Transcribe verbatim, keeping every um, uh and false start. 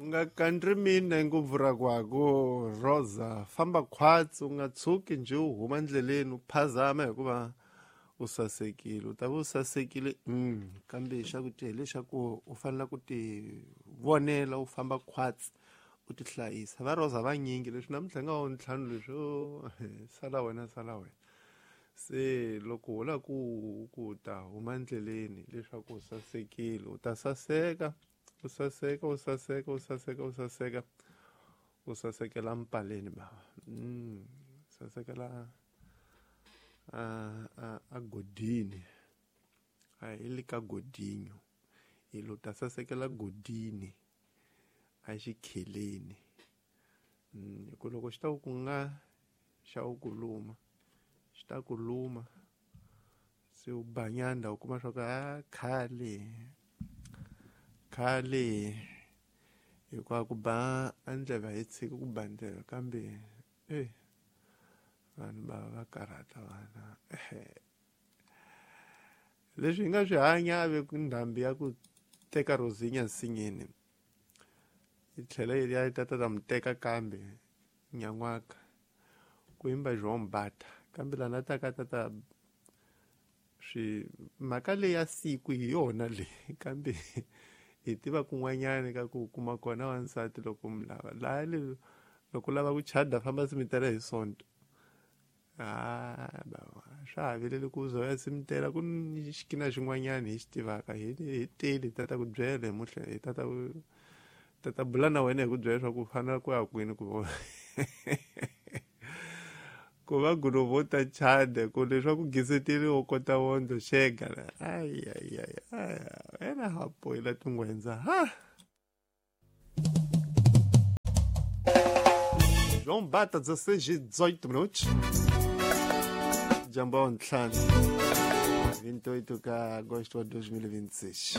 Nga kandri mina ngopfu ra kwaku Rosa famba khwatsi u nga tshuki njhe u huma ndleleni u phazama hikuva u sasekile u ta va u sasekile mm, kambe xa ku ti hileswaku u fanele ku ti vonela u famba khwatsi u ti hlayisa va Rosa vanyingi leswi namuntlha nga wa ntlhanu leswo sala wena sala wena se loko u lava ku ku ta huma ndleleni leswaku u sasekile u ta saseka u saseka u saseka u saseka u saseka u sasekela mpaleni bava mm, sasekela a a a godini a hi le ka godinho hi lo ta sasekela godini a xikheleni mm, hi ku loko xi ta ku nga xa ku ku luma xi ta ku luma se u banyanda u kuma swa ku a khale khale hikuva ku ba a ndleve a yi tshiki ku ba ndleve kambe e vanhu va va karhata vana leswi hi nga swi hanya a ve ku ndhambi ya ku teka Rosinha nsinyeni yi tlhela yi ya yi ta ta ta mu teka kambe nyan'waka ku yimba João Bata kambe lana ta ka ta ta swi mhaka leyi ya siku hi yona leyi kambe hi tiva kun'wanyana ka ku kuma kona wansati loko mi lava laha le loko u lava ku chada famba simitela hi sonto ha bava swa ha vileli ku za u ya simitela ku ni xikina xin'wanyana hi xi tivaka hi hi teli hi tata ku byela hi muhle hi tata ku tata bula na wena hi ku byela leswaku u fanele ku ya kwini ku ku va gulovo ta chada ku leswaku giseteli wo kota wondlo xega ay ay ay ay ena hapoyila tingwendza ha João Bata dezesseis e dezoito minutos Jambão ntlhanu vinte e oito ka agosto wa dois mil e vinte e seis.